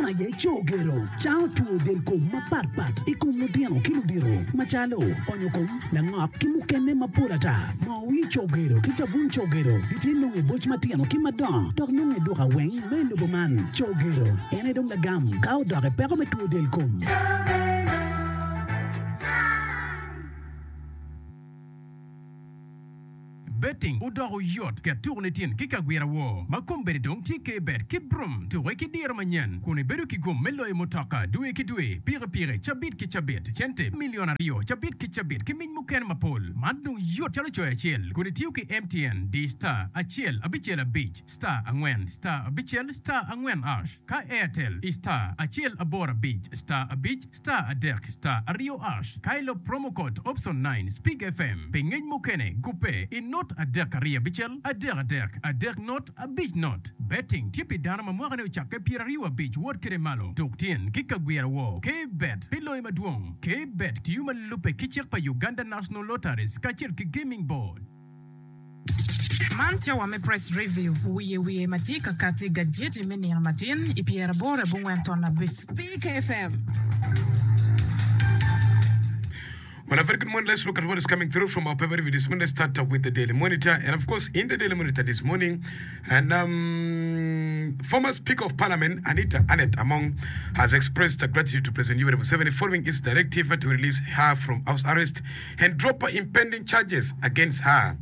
aye Cogero, cango two del kom mapat pat i kom lutino ki ludito macalo onyo kom, langok ki mukene mapol ata. Moo wir Cogero ki cabun Cogero gitye nongo i boc matino ki madongo dok nongo i duka weng ma i lobo man. Cogero en aye dong lagam ka odok i peko me two del kom. Betting odoko yot, ket tuko ni tin ki kagwira woo ma kombeddi dong tye K-Bet ki Brum. Tuke ki diro manyen kun ibedo ki gum me loyo mutoka dwe ki dwe, pikipiki cabit ki cabit, cente milion aryo cabit ki cabit ki mic mukene mapol. Man dong yot calo coyo acel kun itiyo ki MTN di star acel abicel abic star angwen star abicel star angwen ash ka Airtel i star acel aboro abic star abic Star adek star aryo ash ka ilub promo code option nine Speak FM pi ngec mukene gubbe i not adek aryo abicel adek adek adek not abic not. Betting tye pi dano ma mwakane ocakke pyeraryo abic wot kede malo. Tuk tyen ki kagwira woo K-bet pi loyo madwong. K-bet tiyo ma lubbe ki cik pa Uganda National Lotteries kacel ki Gaming Board. Man cawa me Press Review, wiye wiye ma tye ka kati i gajeti me nino matin i pyeraboro abongwen ton abic. Speak FM. Well, a very good morning. Let's look at what is coming through from our paper review this morning. Let's start up with the Daily Monitor. And of course, in the Daily Monitor this morning, and um, former Speaker of Parliament Anita Annet Among has expressed gratitude to President Yoweri Museveni following his directive to release her from house arrest and drop impending charges against her.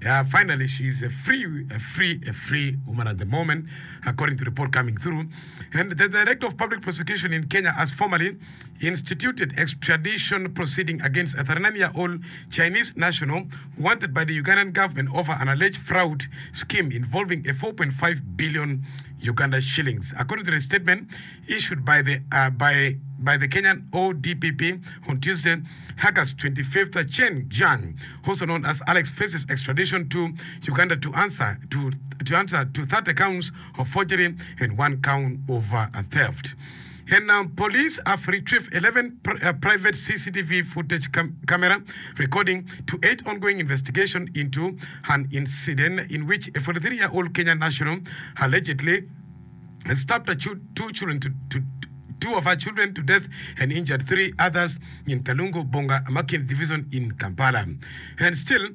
Yeah, finally, she's a free, a free, a free woman at the moment, according to report coming through. And the Director of Public Prosecution in Kenya has formally instituted extradition proceeding against a 39-year-old Chinese national wanted by the Ugandan government over an alleged fraud scheme involving a 4.5 billion Uganda shillings. According to the statement issued by the uh, by by the Kenyan ODPP on Tuesday, August 25th, Chen Jiang, also known as Alex, faces extradition to Uganda to answer to, to answer to 30 counts of forgery and one count of uh, theft. And now police have retrieved 11 pr- uh, private CCTV footage cam- camera recording to aid ongoing investigation into an incident in which a 43-year-old Kenyan national allegedly stabbed a chu- two children to, to two of her children to death and injured three others in Kalungu Bonga Makindye Division in Kampala. And still,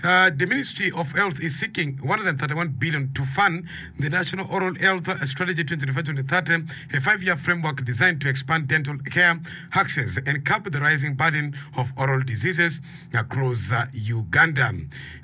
uh, the Ministry of Health is seeking 131 billion to fund the National Oral Health Strategy 2025-2030, a five-year framework designed to expand dental care access and curb the rising burden of oral diseases across uh, Uganda.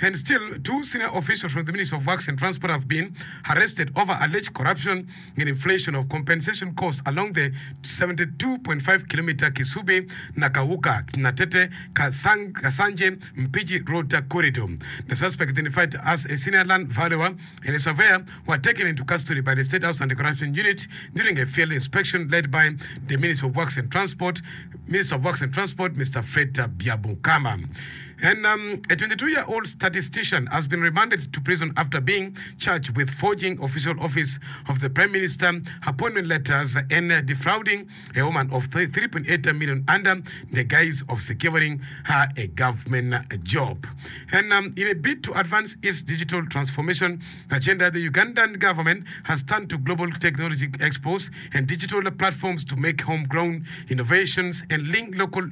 And still, two senior officials from the Ministry of Works and Transport have been arrested over alleged corruption and inflation of compensation costs along the 72.5 kilometer Kisubi, Nakawuka, Natete, Kasang, Kasanje, Mpigi Road corridor. The suspect identified as a senior land valuer and a surveyor were taken into custody by the State House Anti-Corruption Unit during a field inspection led by the Minister of Works and Transport, Minister of Works and Transport, Mr. Fred Byabukama. And um, a 22-year-old statistician has been remanded to prison after being charged with forging official office of the Prime Minister, appointment letters, and uh, defrauding a woman of 3.8 million under the guise of securing her a government job. And um, in a bid to advance its digital transformation agenda, the Ugandan government has turned to global technology expos and digital platforms to make homegrown innovations and link local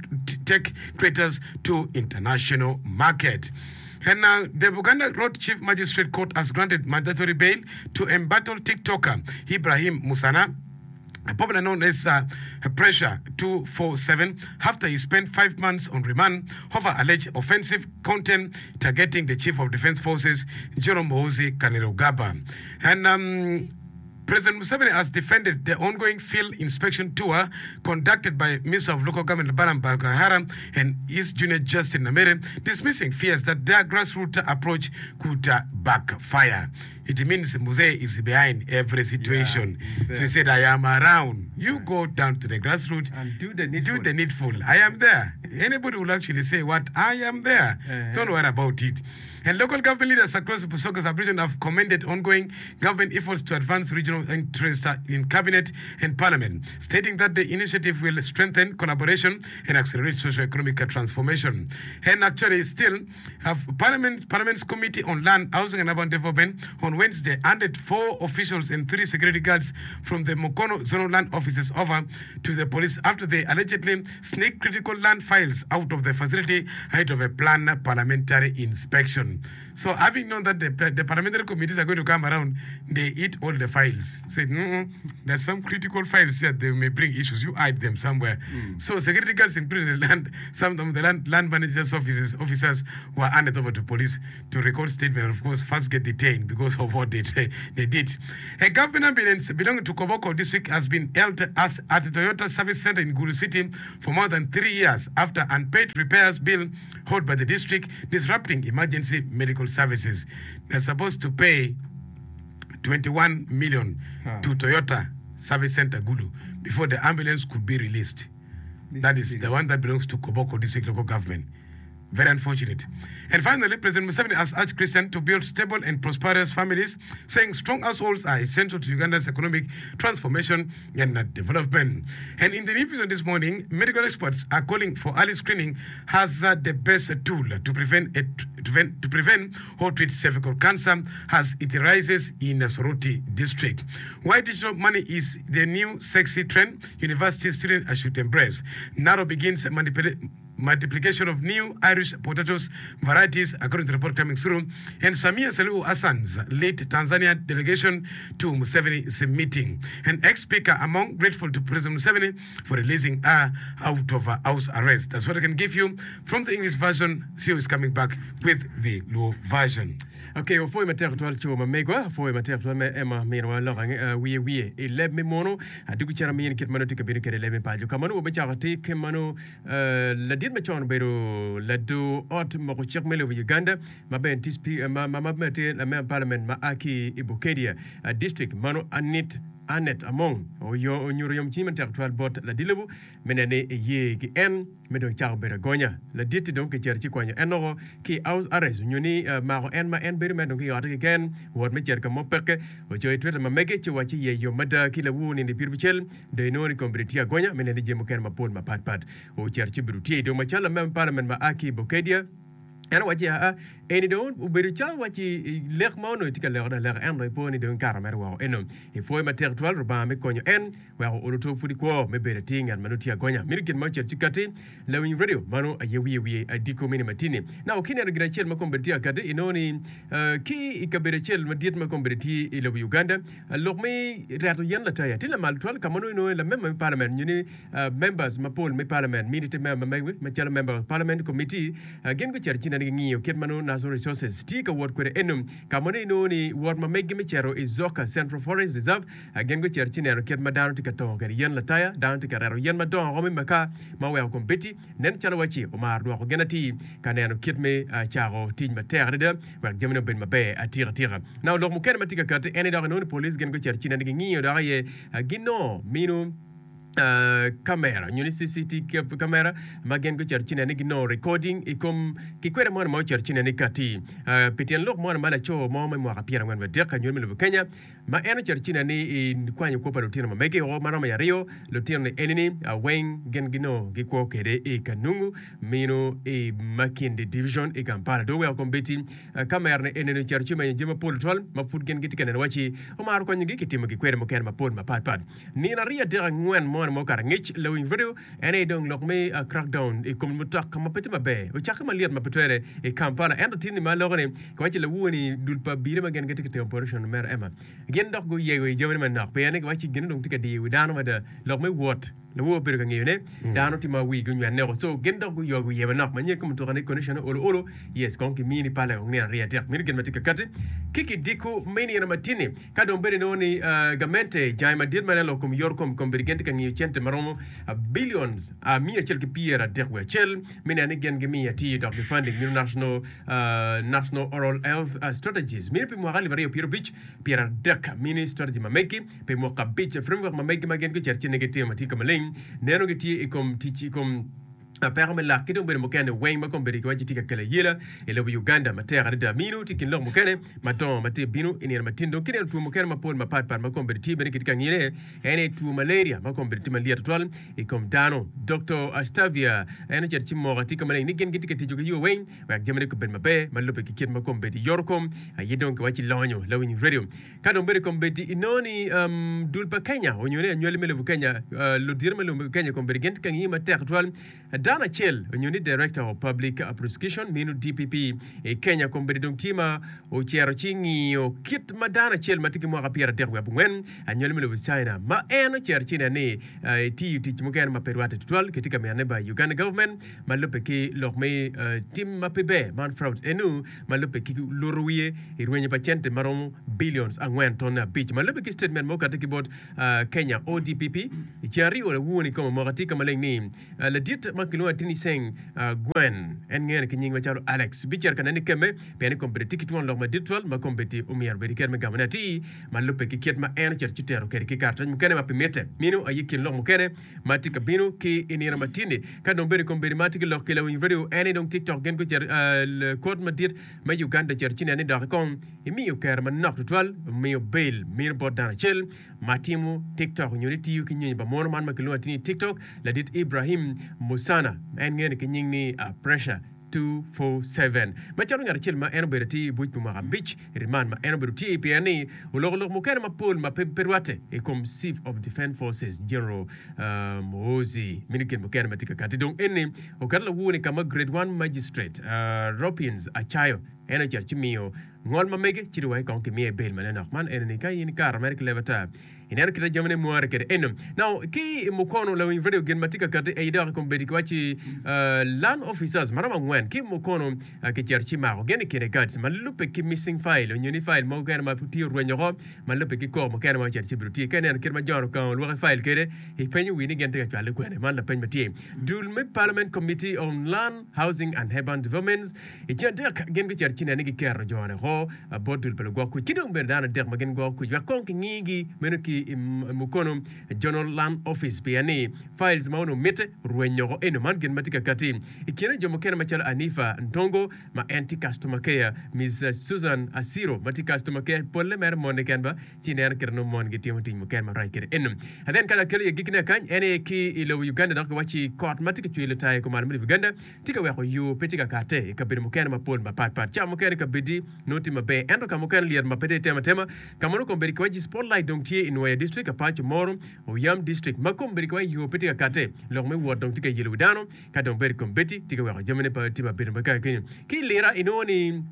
tech creators to international market. And now, the Buganda Road Chief Magistrate Court has granted mandatory bail to embattled TikToker Ibrahim Musana, popularly known as uh, Pressure 247, after he spent five months on remand over alleged offensive content targeting the Chief of Defense Forces, General Muhoozi Kainerugaba. And um, President Museveni has defended the ongoing field inspection tour conducted by Minister of Local Government Balaam Barugahara and his junior Justin Namere, dismissing fears that their grassroots approach could uh, backfire. It means Mzee is behind every situation. Yeah, so he said, I am around. You go down to the grassroots And do the needful. Do the needful. I am there. Anybody will actually say what I am there. Don't worry about it. And local government leaders across the Busoga sub-region have commended ongoing government efforts to advance regional interests in cabinet and parliament, stating that the initiative will strengthen collaboration and accelerate socio-economic transformation. And actually still have parliament, Parliament's Committee on Land, Housing and Urban Development on Wednesday handed four officials and three security guards from the Mukono Zonal Land Offices over to the police after they allegedly sneaked critical land files out of the facility ahead of a planned parliamentary inspection. So having known that the, the parliamentary committees are going to come around, they eat all the files. Said, mm there's some critical files here, they may bring issues. You hide them somewhere. So security guards, including the land, some of the land, land managers officers, officers were handed over to police to record statement and of course first get detained because of what they, they did. A government ambulance belonging to Koboko district has been held as at Toyota Service Center in Gulu City for more than three years after unpaid repairs bill held by the district disrupting emergency medical services. They're supposed to pay 21 million to Toyota Service Center Gulu before the ambulance could be released. That is the one that belongs to Koboko District Local Government. Very unfortunate. And finally, President Museveni has urged Christians to build stable and prosperous families, saying strong households are essential to Uganda's economic transformation and development. And in the news this morning, medical experts are calling for early screening as uh, the best tool to prevent, a, to prevent, to prevent or treat cervical cancer as it rises in the Soroti district. Why digital money is the new sexy trend university students should embrace. Naro begins manipulating multiplication of new Irish potatoes varieties, according to report coming through. And Samia Suluhu Hassan's lead Tanzania delegation to Museveni's meeting. And ex-speaker among grateful to President Museveni for releasing her out of house arrest. That's what I can give you from the English version. CEO is coming back with the Luo version. Ok, wapwoyo matek tutwal co ma megwa, apwoyo matek tutwal me Emma miniwa lok ange wiye wiye i leb me munu. Adugu cen amini kit ma nongo tye ka bino kwede i leb me paco. Ka ma nongo wabicako tik ma nongo Ladit macon obedo lador ot moko cik me lobo Uganda ma bene tye ma bene tye lamemba palament ma a ki i Bukedea District mano Anit Annet Among onyuto yomcwiny matek tutwal bot ladit lobo me neno ni eye ki en me dong cako bedo agonya. Ladit-ti dong kicito ci kwanyo en woko ki i house arrest onyo ni mako en ma en bedo mere dong ki i otte keken wot me cito ka mo peke. Ocoyo i Twitter ma mege ci owacci iye yom mada ki lawur nino i pyerabicel Dong inongo ni kombeddi tye agonya me neno jami mukene mapol mapat pat. Ocito ci obedo tye i dong macalo lamemba me palament ma a ki i Bukedea. En owacci, Aa, eni dong obedo calo wacci lek ma onongo itye ka lekone aleka, ento ipo ni dong ikato mere woko. Eno, ipwoyo matek twal Rubanga me konyo en weko olo to pud ikwo me bedo atir ngat ma nongo tye agonya. Mito gin ma ocito ci katti, lawiny radio mano aye wiye wiye adiko mini matini. Now, ka ineno gin acel ma kombeddi tye akatti, inongo ni ki i kabedo acel madit ma kombeddi tye i lobo Uganda, Lok me reto yen lataya tye lamal tutwal ka ma nongo inongo lamemba me parliament nyo ni members mapol me parliament mini te member ma megi macalo member of parliament committee gin gucito ci nene gingiyo kit ma nongo natural resources tye ka wot kwede eno ka ma nongo inongo ni wot ma megi me cito i Zoka Central Forest Reserve gin gucito ci neno kit ma dano tye ka tongo kwede yen lataya dano tye ka reto yen madongo woko me makar ma oweko kombeddi nen calo wacci omaro dwoko gin atir ka neno kit me cako tic matek adada wek jamine obed maber atika tika. Now lok mukene ma tye ka kati en ni dok inongo ni police gin gucito ci nene gingiyo dok aye ginongo mino kamera nyo ni CCTV camera ma gin gucito ci nene ginongo recording i kom ki kwede moni ma ocito ci nene kati pi tyen lok moni ma laco mo me mwaka pyerangwen wiye adek anywali me lobo Kenya ma en ocito ci nene i kwanyo kwo pa lutino ma mege o ma romo i aryo lutino ni eni ni weng gin ginongo gikwo kwede i Kanungu mino i Makindye Division i Kampala. Dong oweko kombeddi kamera ni enini ocito ci omenyo jami mapol tutwal ma pud gin gitye ka neno waci omaro konyogi ki timo gikwede mukene mapol mapat pat. Nino aryo adek angwen moni ma okato angec lawiny radio en aye dong lok me crackdown i kom mutoka ma pe tye maber ocakke malyet ma pe twere i Kampala ento tin ni ma aloko ni kiwaco lawoni dul pa abila ma gin gitye ka timo operation mere Emma gin dok guyego i jamine manok pien ni kiwaco gin dong tye ka diyo wi dano mada lok me wot Lawor obedo ka ngeyo ne dano tye ma wigi onywenne woko so gin dok guyogo iye manok ma nyen ka mutoka ni condition ne olo olo yes kong ki mini pale kong nino aryo adek meno gin ma tye ka kati ki kidiko me nino matini ka dong bene inongo ni gamente jange madit ma nen lok kom yor kom kombeddi gin tye ka ngiyo cente maromo billions miya acel ki pyera dek wiye acel me neno ni gin gimiyo atir dok gi funding meno national national oral health strategies meno pi mwaka alip aryo pyera abic 30 mini strategy ma megi pi mwaka abic. Framework ma megi ma gin gucito ci ni gitimo ma tye ka maleng neno gitye i kom tic i kom. Peko me lak ki dong bedo mukene weng ma kombeddi kiwaco tye ka kelo ayela i lobo Uganda matek adada. Mino tye i kin lok mukene madongo ma tye bino i nino matin. Dong kineno two mukene mapol mapat pat ma kombeddi tye bene kitye ka ngine en aye two malaria ma kombeddi tye malyet tutwal i kom dano. Doktor Astavia en ocito ci moko atika maleng ni gin gitye ka tic ki yo weng wek jamine gubed maber ma lubbe ki kit ma kombeddi yoto kom aye dong kiwaco lonyo lawiny radio. Ka dong bedo i kombeddi, inongo ni dul pa Kenya onyo ni anywali me lobo Kenya, ludito me lobo Kenya kombeddi gin tye ka ngiyo matek tutwal dano acel onyo ni Director of Public Prosecution meno DPP i Kenya kombeddi dong tye ma ocito ci ngiyo kit ma dano acel ma tye ki mwaka 34 wiye anywali me lobo China ma en ocito ci neno ni etiyo tic mukene ma pe rwatte tutwal kitye ka mito ne by Uganda government ma lubbe ki lok me tim ma pe ber man fraud enu ma lubbe ki luto wiye i rwenyo pa cente ma romo billions 4.5 ma lubbe ki statement ma okati ki bot Kenya ODPP i ceng aryo lawur i kom amoka tye ka maleng ni ladit ma kilwongo atir ni Seng Gwen en ngene ki nying macalo Alex bicito ka nene kemme pien ni kombeddi tye ki twon lok madit twal ma kombeddi omyero obed ki kero me gamone atir ma lubbe ki kit ma en ocito ci tero kwede ki karatac mukene ma pi mitte. Meno aye kin lok mukene ma tye ka bino ki i nino matini. Ka dong bedo i kom bedo ma tye ki lok ki lawiny radio en ni dong TikTok gin gucito i kot madit me Uganda ocito ci neno ni doki kong imiyo kero manok tutwal miyo bail mino bot dano acel ma timo TikTok nyo ni tiyo ki nyonyo pa mono man ma kilwongo atir ni TikTok ladit Ibrahim Musana en ngene ki nying ni Pressure 247. Macalo ngat acel ma en obedo atir i buc pi mwaka abic i riman ma en obedo tye pien ni oloko lok mukene mapol ma pe rwatte i kom Chief of Defence Forces General Muhoozi meno gin mukene ma tye ka kati dong eni oketo lawur-ni ka ma Grade One Magistrate Robins Acayo en ocito ci miyo ngol ma mege ci dong wek kong kimiye bail manenok man eni ni ka in ikato mere ki leb ata Ineno kit ma jamine mware kwede eno. Now, ki i Mukono, lawiny radio gin ma tye ka kati aye dok i kombeddi kiwacci land officers ma romo angwen ki i Mukono kicito ci mako gin i kine guards ma lubbe ki missing file onyo ni file mogo kene ma tye orwenyo oko ma lubbe ki koko mukene ma ocito ci obedo tye. Ka ineno kit ma John Okanga olwoki file kwede ipenyo wi ni gin tye ka cwale kwene? Man lapeny ma tye. Dul me Parliament Committee on Land, Housing and Urban Developments I ceng adek, gin gucito ci neno ni giketo jone oko bot dul pa lugwok kuc ki dong bene dano adek ma gin gwoko kuc wek kong kingigi meno ki i Mukono General Land Office pien ni files ma onongo mitte orweny oko. Eno man gin ma tye ka kati i kine jo mukene macalo Anifa Ntongo ma en tye customer care, Miss Susan Asiro ma tye customer care polle mere mon keken ba ci ineno kite nongo mon gitimo tic mukene marac kwede. Eno and then ka lakelo i agikine kany en aye ki i lobo Uganda dok kiwacci kot ma tye ka cwer lutayo i kumalo me lobo Uganda tye ka weko yo pe tye ka katte i kabedo mukene mapol mapat pat. Cawa mukene kabeddi nongo tye maber ento ka mukene lyet ma pe dong itemo atema. Ka ma nongo kombeddi kiwaci spotlight dong tye i Nwoya District, Apac, Omoro, Oyam District ma kombeddi kiwaci yo pe tye ka katte. Lok me wot dong tye ka yelo wi dano ka dong bedo kombeddi tye ka weko jamine pe tye mabedo ma kaka kenyo. Ki i Lira inongo ni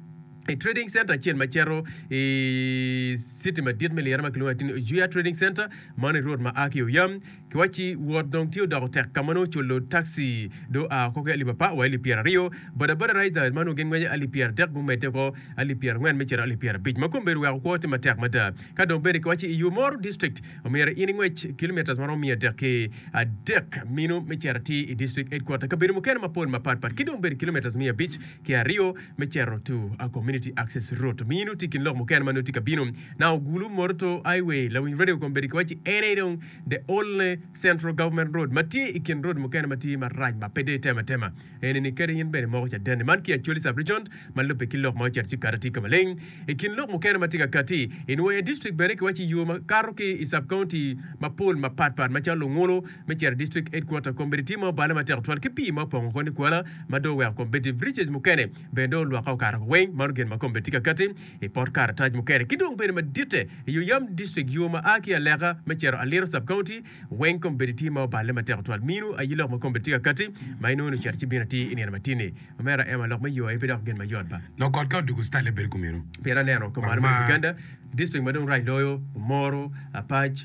i trading center acel ma cito i city madit me Lira ma kilwongo atir ni Ojuya Trading Center mano i road ma a ki i Oyam Kiwacci wot dong tye odoko tek ka ma nongo culo taxi dong oa oko ki alip apar wa alip 20. Bodaboda riders ma nongo gin ngweco alip 30 gumedde oko alip 40 me cito alip 50 ma kombeddi weko kwo tye matek mada. Ka dong bene kiwacci i Omoro District omyero in ingwec kilometers ma romo miya adek ki adek mino me cito atir i District Headquarter kabedo mukene mapol mapat pat ki dong bene kilometers miya abic ki aryo me cito to Community Access Route mino tye i kin lok mukene ma nongo tye ka bino. Now Gulu Moroto Highway lawiny radio kombeddi kiwacci en aye dong The only central government road ma tye i kin road mukene ma tye marac ma pe dong itemo atema eni ni kadi in bene imoko cadenni man ki Acholi sub region ma lubbe ki lok ma ocito ci kati tye ka maleng. I kin lok mukene ma tye ka kati i Nwoya district bene kiwaco yo ma kato ki i sub county mapol mapat pat macalo Lungulu me cito i district headquarter kombeddi tye ma obale matek tutwal ki pii ma opongo oko nikwala ma dong oweko kombeddi bridges mukene bene dong olwokke okato oko weng mano gin ma kombeddi tye ka kati i pot karatac mukene ki dong bedo maditte i Oyam District yo ma a ki Aleka me cito Aliro Sub County weng kombeddi tye ma oballe matek tutwal. Minu aye lok ma kombeddi tye ka kati ma inongo ni ocito ci bino atir i nino matini. Omera Emma lok me yo aye pe dok gin mayot ba. Lok ot ka odwogo citale bedo kumeno. Pien aneno kumalo me Uganda district ma dong rac loyo Omoro, Apac,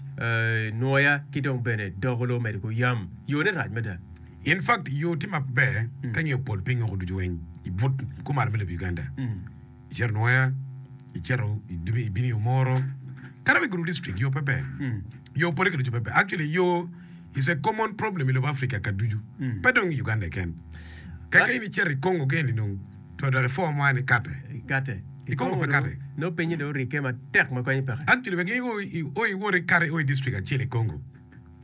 Nwoya ki dong bene Dokolo medo ki Oyam. Yone rac mada. In fact yo tye ma pe ber ka ingiyo pol piny woko ducu weng i but kumalo me lobo Uganda. Icito Nwoya, icito ibino i Omoro, kadi wa i Gulu district yo pe ber. Yo pole ki ducu pe ber. Actually yo is a common problem i lobo Africa ka ducu, pe dong i Uganda keken. Ka ka in icito i Congo keni dong to dok i form mo ni kate. Kate. I Congo pe kate. Nongo pinye dong orike matek ma konye peke. Actually wek in o iwot ikato i o i district acel i Congo.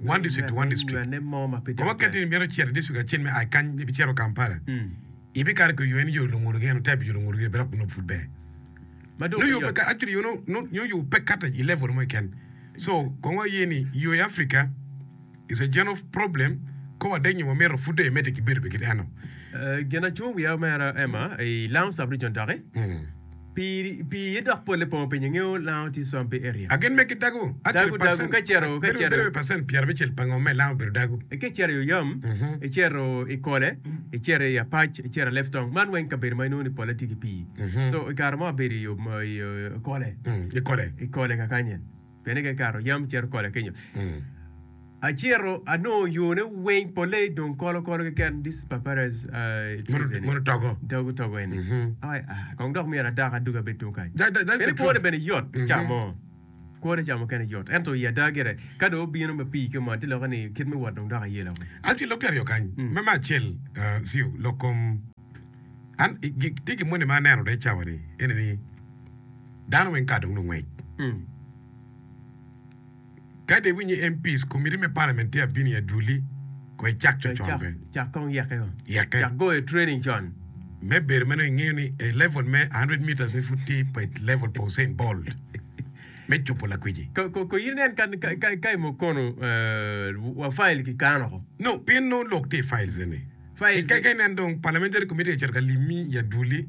One district to one district. Nywene mo ma pe Kong waket ni imito cito i district acel me a kany ibicito Kampala, ibikato ki yo en yo lungulu gin type yo lungulu gin dok nongo pud ber. Ma dong Nongo yo pe pe yot. kato actually yo nongo nongo yo pe kato i level mo keken. So kong waye ni yo i Africa is a general problem ka wadek nyo wamito pud dong imedde ki bedo be kit eno. Gin acungo wiya omera Emma i Lango sub region doki. Pii pii iye dok polle pongo piny ingeyo lango tye swampy area. Agin me ki dago actually Dago dago percent ka icito ka bedo icito bedo percent pyerabicel pa ngom me lango obedo dago. Ka icito i Oyam, icito i Kole, icito i Apac, icito i Leptong, man weng kabedo ma inongo ni polle tye ki pii. So i kare mo abedo i i Kole, I Kole. i Kole kakany-nyen. Pien ni ka ikato Oyam icito Kole kenyo. Acito anongo yone weng polle dong kolo kolo keken this papyrus trees eni. Mono togo. Togo togo eni. Ai ah kong dok myero adak adwogi abed tung kany. That, that, that's Pien the kwone truth. bene yot ca mo. Kwone ca mukene yot. Ento i ada gire ka dong obino ma pii ki omon ci lokke ni kit me wot dong dok ayelo. Actually lok tye aryo kany. Me me acel uh, Siu, lok kom an i- gi- tye gin moni ma aneno de cawa ni ene ni dano weng kar dong lungwec. Ka dong iwinyo MPs, komiti me parliament tye abino i adwoli, ko icak co con be. Cak kong yeke o. Yeke. Cak goyo training con. Me bedo ma nongo ingeyo ni e level me 100 meters ni pud tye pa level pa Usain Bolt me cubo lakwiji. Ko ko in inen ka ka ka i mukono wa file ki kano ko. No, pien nongo lok tye i files eni. Files. Ka inen dong parliamentary committee ocito ka limi i adwoli.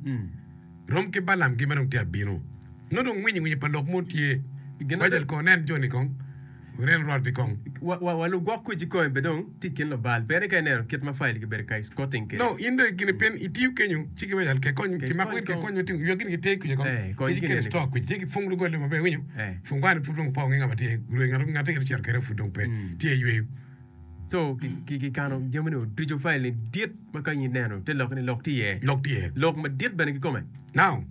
Rom ki Balaam gi ma dong tye abino. Nongo dong winyi winyi pa lok mo tye. Wajal kong nen joni kong. Wunen rwot-ti kong. Wa wa lugwok kuc kikome bene dong tye i kin lubal. Bene ka ineno kit ma file gibedo ka escorting kwede. No, in dong gini pien itiyo kenyo ci ki wajal ke kony ki mako in ke kony otingo ywek gini ki tye kuca kong. Eh, kony Ki gini kelo eni. store kuca ci ki fung dogol maber iwinyo. Eh. Fungwani pud dong pe onge nga ma tye rwe ngat ngat tye ocito kede pud dong pe tye iyweyo. So kikano jamine ducu file ni dit ma ka in ineno te lok ni lok tye iye. Lok tye iye. Lok madit bene kikome. Now,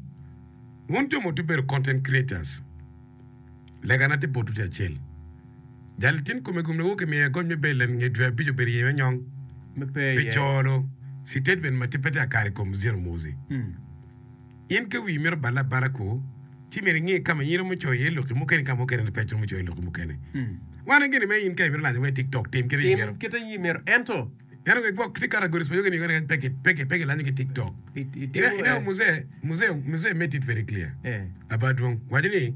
wun jo ma wutye bedo content creators, legana tye botwu tye acel. Jal tin kome gum niwok imiye goc me bail nge dwe abic obedo iye me nyong Me pe pi iye. colo sitatement ma tye pe tye akare i kom Zero Muzi. In ka wii mito balle abala ku, ci myero inge ka ma in iromo coyo iye lokki mukene ki ka mukene pe iromo coyo lokki mukene. Wan gini me in ka imito lanyo wa i tiktok tim kite Tim imito. kite in imito ento. Ento ki gwok tye categories ma yogi ni kany pe ki pe ki pe kilanyo ki tiktok. Itimo Ineno muzee muzee muzee made it very clear. Eh. Aba dwong waco ni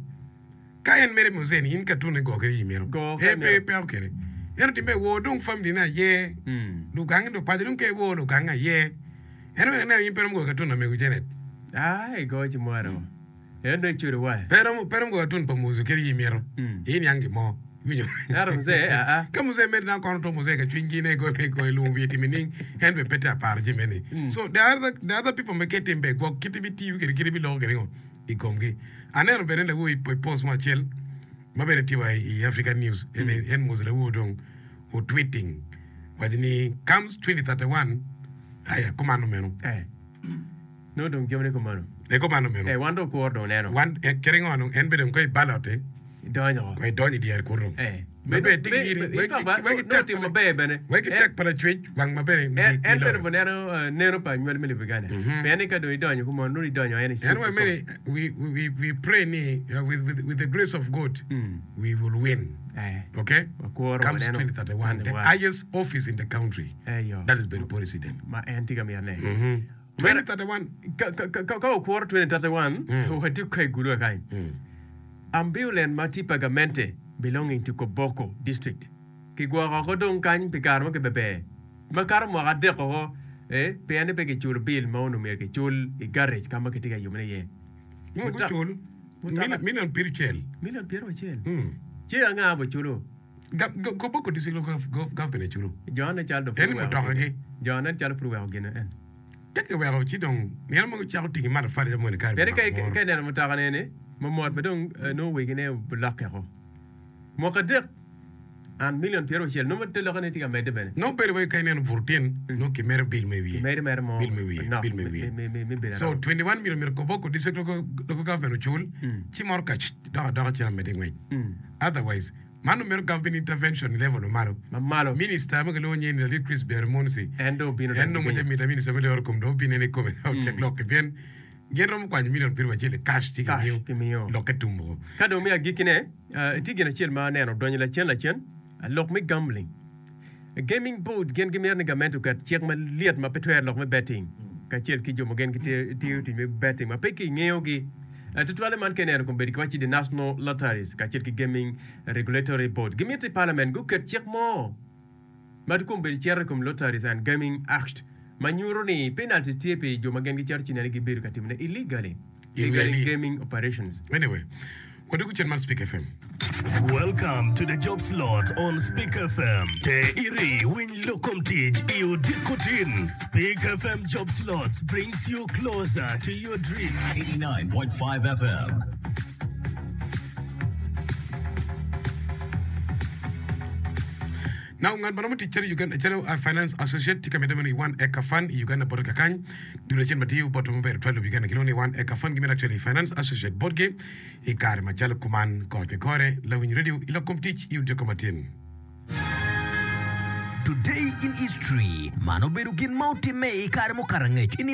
ka en mere muzee ni in cartoon ni go kede imito. Go ka Eh pe imito. peko kede. Ento timme wor dong family ne aye. Lugange lupaco dong ka iwor lugange aye. En oweko ineno in pe romo goyo katun lamego Janet. Ai goyo ci mwaro. En dong icudo wa. Pe romo pe romo goyo katun pa Muzu kadi in imito. In niang gin mo. Iwinyo? Ento muzee aa. Ka muzee medde dano kono to muzee ka cwiny gi ne goyo me goyo lwongo wiye timo nining en bene pe tye aparo jami eni. So the other the other people me ke tim ber gwok kit ibitiyo kwede kit ibiloko kwede ngo i komgi. Aneno bene lawo i post mo acel ma bene tye wa i African news en en Muzu lawo dong o tweeting waco ni comes 2031 Aya, kumano meno. Eh. Nongo dong jamine kumano. Eh, kumano meno. Eh, wan dong kuro dong neno. Wan, eh, kadi ngo dong, en bene dong ka i ballot-ti, Idonyo ko. ko idonyo i dyere kunu dong. Eh. Ma bene tye ki giri, In wek fact, ba, wek ki nongo tek timo pa maber bene. wek ki En- tek pa lacwec wang ma bene En, en bene giloyo. buneno eh, neno pa anywali me Uganda. Pien ni ka dong idonyo kumano, nongo idonyo en i En cup wa kikome. mene, we, we, we pray ni, uh, with, with, with the grace of God, we will win. Eh. Okay? Wakuro Comes waneno. 2031, the 21. highest office in the country. Eyo. That is bedo president. Ma en tye ka mitone. 2031. Ka, ka, ka, ka wakuro 2031, watye ka i gulu kany. Ambulan ma tye pa gamente belonging to Koboko district kigwoko oko dong kany pi kare mo kibeber makato mwaka adek oko eh, pien ni pe kiculo bil ma onongo myero kicul i garage ka ma kitye ka yubone iye. Ngo gucul? Mutoka- Million pircel. Million pyeraucel. Ci anga buculo? Koboko district local government aye culo. Jo nen calo dong pud En oweko mutoka gine. gi. Jo nen calo pud oweko gine en. Ka kiweko ci dong nino mogo cako tingi matafali ca moni kare Pien mako ka moro. ka ineno mutoka neni mamot ma dong eh, nongo wegine olokke oko. Mwaka adek and million pyeraucel nongo te lokke ni tye ka medde bene. Nongo bedo wai ka ineno buto tyen nongo kimedo bill me wiye. Kimedo mere mo Bill me wiye, manok bill me wiye. me- me- me bedo So aromo. 21 million myero Koboko district local, local government ocul ci moro ka dok adoka cen amedde ngwec. Otherwise man omito government intervention i level mamalo. Mamalo. Minister ma kilwongo nyinge ni Lalit Chris Byeromunsi En dong obino en dong dong piny. oce mita minister me loro kom dong obino en ikome otyek lokke pien gin romo kwanyo million piero acel i cash ci Cash gimiyo gimiyo. lokke tum woko. Ka dong me agikkine, eh, tye gin acel ma aneno odonyo lacen lacen. Lok me gambling. Gaming board gin gimito ni gamente oket cik malyet ma pe twero lok me betting kacel ki jo ma gin gitiyo tic me betting ma pe kingeyogi. Tutwalle man ka ineno kombeddi kiwaco the National Lotteries kacel ki Gaming Regulatory Board gimito i parliament guket cik mo ma kombeddi cito i kom Lotteries and Gaming Act ma nyuto ni penalty tye pi jo ma gin gicito ci nene gibedo ka timone illegally. Illegally gaming operations. Anyway, wadwogo cen man Speak FM. Welcome to the job slot on Speak FM. Te iri winy lok kom tic i odiko tin. Speak FM job slots brings you closer to your dream. 89.5 FM. Now ngat ma romo tic calo Uganda calo uh, finance associate tye ka medde meno i one acre fund i Uganda bote kakany. Dul acel ma tiyo botwa maber tutwal i lobo Uganda kilwongo ni One Acre Fund gimito actually finance associate botgi i kare macalo kuman kore ki kore. Lawiny radio i lok kom tic i odiko matin. Today in History, Man obedo gin ma otimme i kare mukato angec i nino.